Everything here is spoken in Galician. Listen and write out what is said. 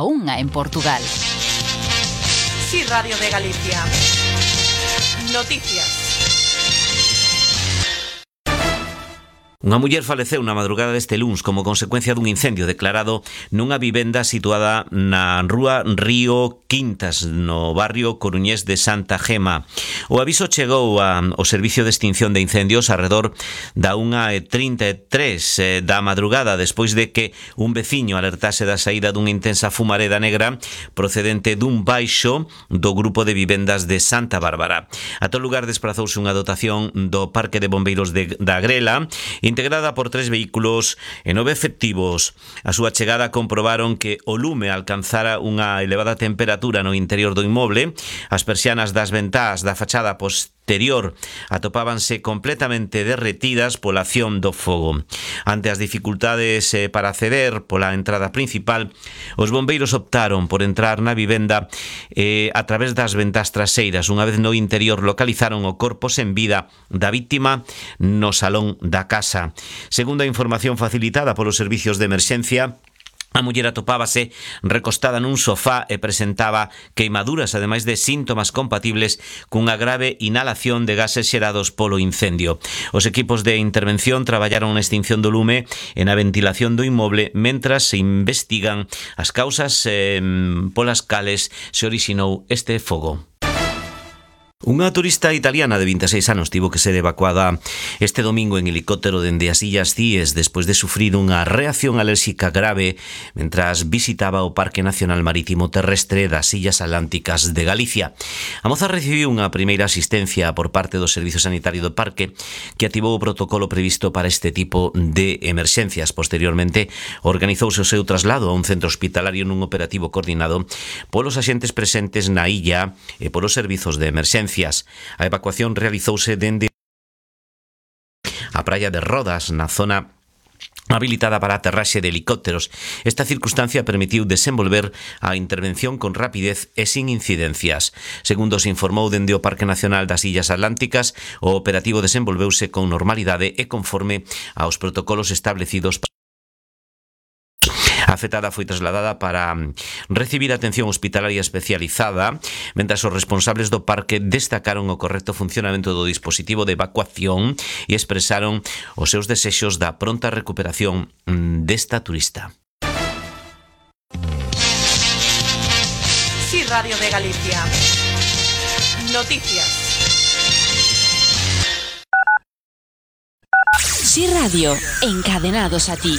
a 1 en Portugal. Sí, Radio de Galicia. Noticias. Unha muller faleceu na madrugada deste luns como consecuencia dun incendio declarado nunha vivenda situada na rúa Río Quintas, no barrio coruñés de Santa Gema. O aviso chegou ao Servicio de Extinción de Incendios arredor da 1:33 da madrugada, despois de que un veciño alertase da saída dunha intensa fumareda negra procedente dun baixo do grupo de vivendas de Santa Bárbara. A todo lugar desprazouse unha dotación do Parque de Bombeiros da Grela, integrada por 3 vehículos e 9 efectivos. A súa chegada comprobaron que o lume alcanzara unha elevada temperatura no interior do inmoble. As persianas das ventás da fachada posterior atopábanse completamente derretidas pola acción do fogo. Ante as dificultades para acceder pola entrada principal, os bombeiros optaron por entrar na vivenda a través das ventás traseiras. Unha vez no interior localizaron o corpo sen vida da víctima no salón da casa. Segundo a información facilitada polos servicios de emerxencia, a muller atopábase recostada nun sofá e presentaba queimaduras, ademais de síntomas compatibles cunha grave inhalación de gases xerados polo incendio. Os equipos de intervención traballaron na extinción do lume e na ventilación do inmoble mentras se investigan as causas polas cales se orixinou este fogo. Unha turista italiana de 26 anos tivo que ser evacuada este domingo en helicóptero dende as Illas Cíes despois de sufrir unha reacción alérxica grave mentras visitaba o Parque Nacional Marítimo Terrestre das Illas Atlánticas de Galicia. A moza recibiu unha primeira asistencia por parte do Servicio Sanitario do Parque, que activou o protocolo previsto para este tipo de emerxencias. Posteriormente, organizouse o seu traslado a un centro hospitalario nun operativo coordinado polos axentes presentes na illa e polos servizos de emerxencia. A evacuación realizouse dende a praia de Rodas, na zona habilitada para aterraxe de helicópteros. Esta circunstancia permitiu desenvolver a intervención con rapidez e sin incidencias. Segundo se informou dende o Parque Nacional das Illas Atlánticas, o operativo desenvolveuse con normalidade e conforme aos protocolos establecidos. A afectada foi trasladada para recibir atención hospitalaria especializada, mentras os responsables do parque destacaron o correcto funcionamento do dispositivo de evacuación e expresaron os seus desexos da pronta recuperación desta turista. Sí, Radio de Galicia. Noticias. Sí Radio, encadenados a ti.